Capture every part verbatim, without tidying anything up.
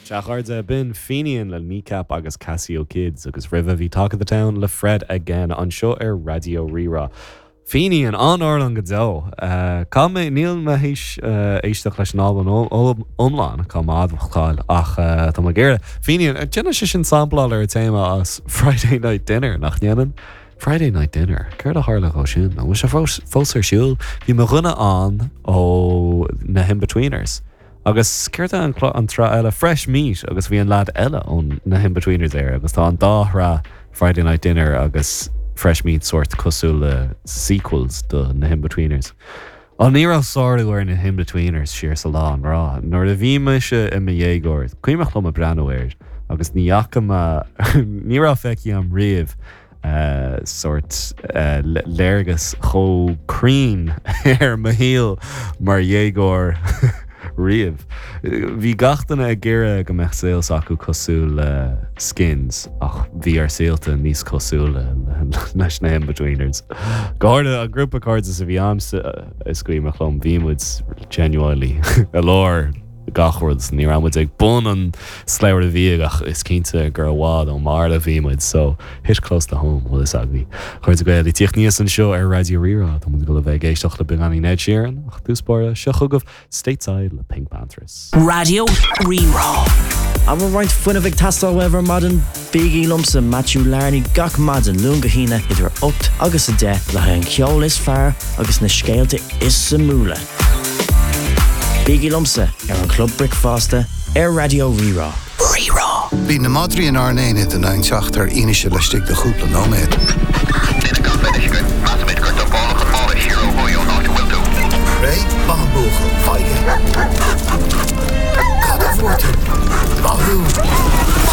Sea, a chairde, b'in Fenian le Kneecap agus Casio Kids agus roimhe bhí Talk of the Town le Fred Again anseo ar Raidió Rí-Rá. Fenian an-amhrán go deo. Cá mé níl mé théis éisteacht leis an albam iomlán cá madháil ach tá mé géire. Fenian déanann sé sin sampláil ar téama as Friday Night Dinner nach ndéanann? Friday Night Dinner, Céard a tharla dhó sin, an bhfuil sé fós ar siúl, bhí mo dhuine ann ó na hInbetweeners. Agus céard an an tsraith eile Fresh Meat agus bhí an lad eile ón na hInbetweeners air agus tá an dá shraith Friday Night Dinner agus Fresh Meat sort cosúil le sequels do na hInbetweeners. Á ní raibh sárú ar na hInbetweeners siar sa lá an rá, nuair a bhí mise i mo dhéagóir, cuimhin liom ag breathnú air agus ní fhaca mé ní raibh feicthe agam riamh uh, sort uh, léargas chomh cruinn ar mo shaol mar dhéagóir riamh. Bhí gach duine ag iarraidh go mbeadh saol acu cosúil le Skins ach bhí ár saolta níos cosúla leis na Inbetweeners. Go háirithe an grúpa cairde a bhí agamsa is cuimhin liom bhí muid genuinely i lár gach rud ní raibh muid ag bun an slabhra bia ach is cinnte gur i bhfad ón mbarr a bhí muid so hit close to home bhfuil fhios agaibh. Chuir Gael tíocht níos anseo ar Raidió Rí-Rá Tá go bheith ag éisteacht le beagáinín Ed Sheeran ach dtús báire seo chugaibh Stateside le PinkPantheress. Raidió Rí-Rá. An bhfuil roinnt fuinnimh ag teastáil uaibh ar maidin bígí liomsa Matthew Larney gach maidin Luan go hAoine idir ocht agus a deich le haghaidh an ceol is fearr agus na scéalta is suimiúla. Bígí liomsa ar an Club Bricfeasta ar Raidió Rí-Rá. Rí-Rá. Bhí na madraí in ár n-aonad in ann teacht ar fhianaise laistigh de chúpla nóiméad. Duine gan bheith againn, measaimid gur dumpáladh an mála siar ó thuaidh ón áit a bhfuil tú. Réidh maith an buachaill, faigh Cad a bhfuair tú? Maith thú!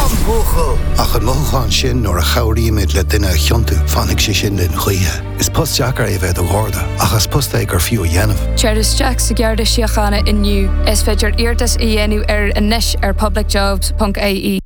An buachaill! Ach an mothúchán sin nuair a chabhraímid le duine a chiontú, fanfaidh sé sin linn choíche. Is post deacair é bheith i do gharda, ach is post é gur fiú a dhéanamh. Tar isteach sa Gharda Síochána inniu is féidir iarratas a dhéanamh ar anois ar publicjobs.ie.